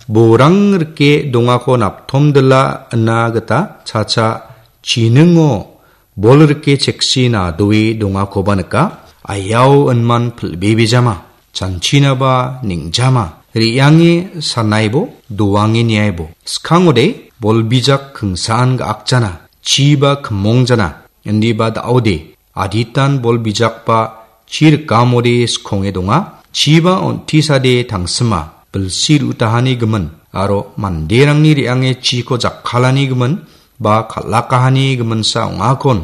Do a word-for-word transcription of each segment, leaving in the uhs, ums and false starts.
Borang rike dongako naptomdila ina gita chacha chiningo bol rike cheksi nadoe dongakoba nika. Ayao inman pilbebejama, chanchinaba ningjama. Re·ange sanaibo, doange niaibo. Skangode bol bijak kingsaan ga·akjana. Chiba kimongjana. Indiba da·ode. Aditan bol bijakba chi rikamode skonge donga. Chiba on·tisade tangsima. Bilsi ru·tahani gimin. Aro manderangni re·ange chiko jakkalani gimin. Ba kal·akahani giminsa ong·akon.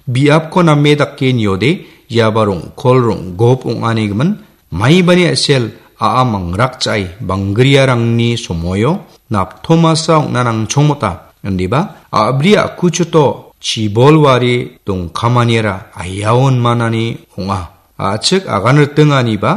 Biapko name dake niode, iaba rong·kol rong·gop ong·ani gimin, maibani a·sel a·a mangrakchae banggriarangni somoio naptomasa ong·na nangchongmota, indiba a·bri a·kuchuto chibolwari dongkamaniara ayaon manani ong·a. A·chik agan riting aniba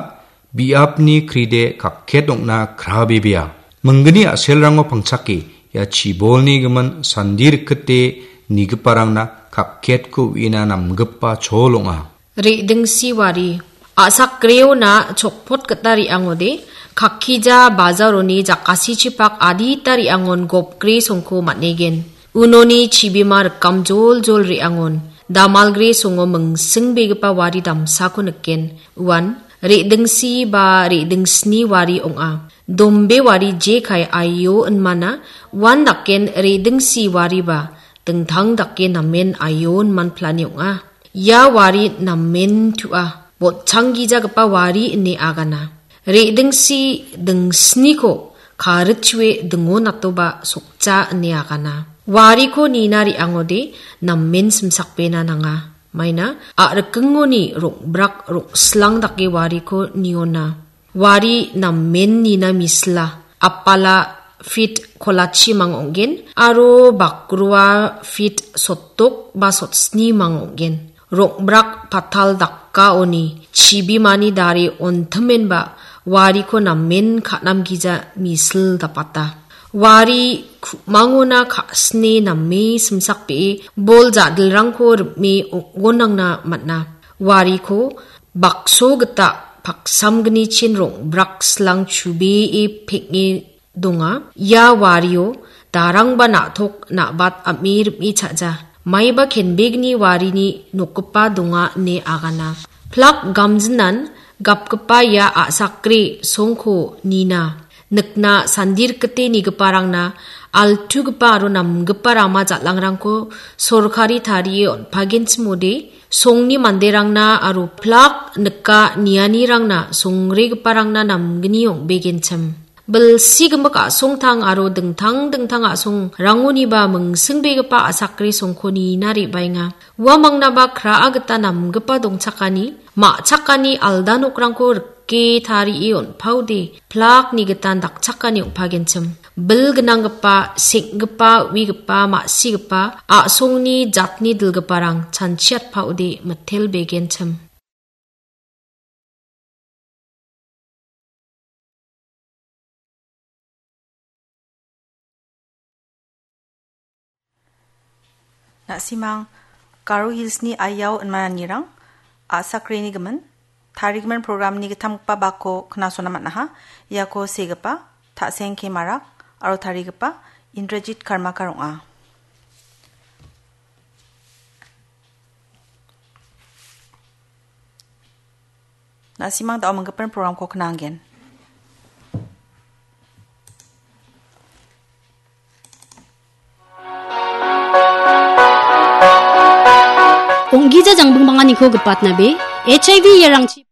biapni kride kakket ong·na krabebea. Minggni a·selrango pangchake, ia chibolni gimin sandi rikite nigiparangna kakketko uina namgipa chol ong·a. Re·dingsi wari. A·sakreona chokpot gita re·angode, kakkija bajaroni jakasichipak adita re·angon gopgre songko man·egen. Unoni chibima rikam joljol re·angon, damalgre songo mingsingbegipa wari damsako niken. Uan, re·dingsi ba re·dingsni wari ong·a. Dombe wari jekai aio inmana, uan daken re·dingsi wariba, dingtang dake namen aio inman plani ong·a. Ia wari namen tu·a, botchanggijagipa wari ine agana. Re·dingsi dingsniko karitchue dingonatoba sokja ine agana. Wariko nina re·angode namen simsakbena nanga. Maina a·rikingoni rong·brak rong·slang dake wariko niona. Wari namen nina misila, apala fit kolachi mang ong·gen, aro bakrua fit sotdok ba sotsni mang ong·gen. Rong·brak patal dakkaoni chibimani dare ontimenba wariko namen ka·namgija misil dapata. Wari ku·mangona ka·sine name simsakbee bol ja·dilrangko rim·e ong·gonangna man·a. Wariko bakso gita paksamgnichin rong·brak silang chubee peng·e donga. Ia wario darangba na·tok na·bat am·e rim·e cha·ja. Maiba kenbegni warini nokgipa donga ine agana. Plak gamjinan gapgipa ia a·sakre songko nina. Nikna sandirikite nigiparangna altugipa aro namgipa rama jal·angrangko sorkari tarie on·pagenchimode, songni manderangna aro plak nika nianirangna songregiparangna namgni ong·begenchim. Bilsi gimik a·songtang aro dingtang dingtang a·songrangoniba mingsingbegipa a·sakre songko nina re·baenga. Uamangnaba kra·a gita namgipa dongchakani, ma·chakani alda nokrangko rike tarie on·paode, plakni gitan dakchakani ong·pagenchim. Bil gnanggipa, seng·gipa, uigipa, ma·sigipa, a·songni jatni dilgiparang chanchiatpaode mitelbegenchim. Na·simang Garo Hillsni ayao inmananirang a·sakreni gimin tarigimin programni gittamgipa bakko knasona man·aha. Iako segipa Ta·seng K Marak aro tarigipa Indrajit Karmakar ong·a. Na·simang da·o minggipa programko knanggen. Ong·gija jangbing banganiko gipatnabe, H I V iarangchi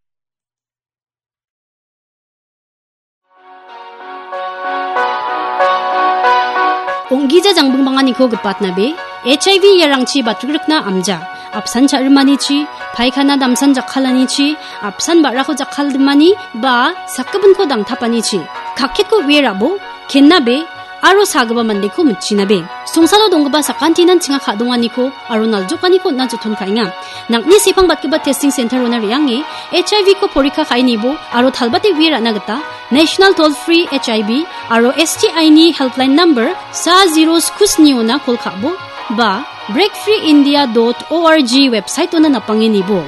Ong·gija jangbing banganiko gipatnabe, H I V iarangchi batrikna amja. Apsan cha·rimanichi, paikana damsan jakkalanichi, apsan ba·rako jakkaldimani, ba sakgipinko dangtapanichi. Kakketko uie rabo, kennabe, aro sagipa mandeko mitchinabe. Songsalo donggipa sakantinan chinga ka·donganiko aro naljokaniko on·na joton ka·enga. Nang·ni sepang batgipa testing center-ona re·ange H I V-ko porikka ka·enibo aro talbate uie ra·na gita National Toll Free H I V aro S T I-ni helpline number sa zero sku sniona kol ka·bo ba breakfreeindia dot org website-ona napange nibo.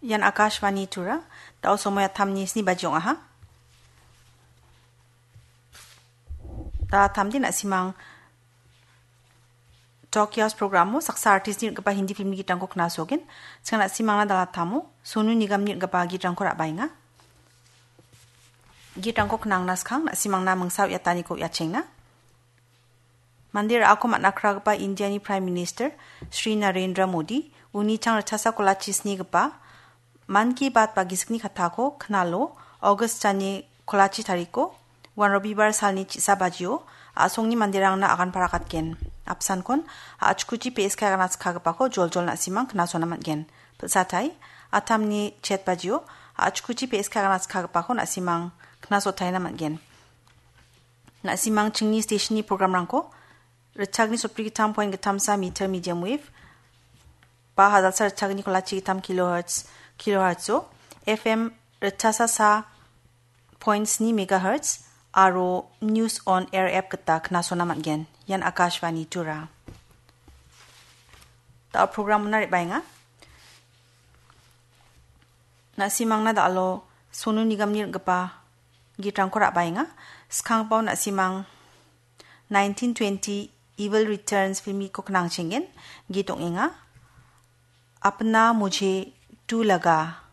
Ian Akashvani Tura, da·o somoi atamni sni baji ong·aha. Da·o atamde na·simang Talk House programo saksa artistni ritgipa Hindi filmni gitrangko knasogen. Sika na·simangna da·o atamo Sonu Nigamni ritgipa gitrangko ra·baenga. Gitrangko knangna skang na·simangna mingsa uiataniko uiachengna. Mande ra·ako man·akragipa Indiani Prime Minister Shri Narendra Modi uni chang ritchasa kolachi snigipa Mann Ki Baat ba gisikni kattako knalo August jani kolachi tariko, uan Robibar salni chisa bajio a·songni manderangna agan parakatgen. Apsankon a·chikuchi P S K agana skagipako joljol na·simang knasona man·gen. Pilsatai, atamni chet bajio a·chikuchi P S K agana skagipako na·simang knasotaina man·gen. Na·simang chingni stationni programrangko ritchagni sotbri gittam point gittamsa meter medium wave ba hajalsa ritchagni kolachi gittam kilohertz, kilohertzo, F M ritchasa sa point sni megahertz aro News on Air app gita knasona man·gen. Ian Akashvani Tura. Da·o programona re·baenga. Na·simangna da·alo Sonu Nigamni ritgipa gitrangko ra·baenga. Skangpao na·simang nineteen twenty Evil Returns filmiko knangchengen git ong·enga. Apna Mujhe Tu Laga.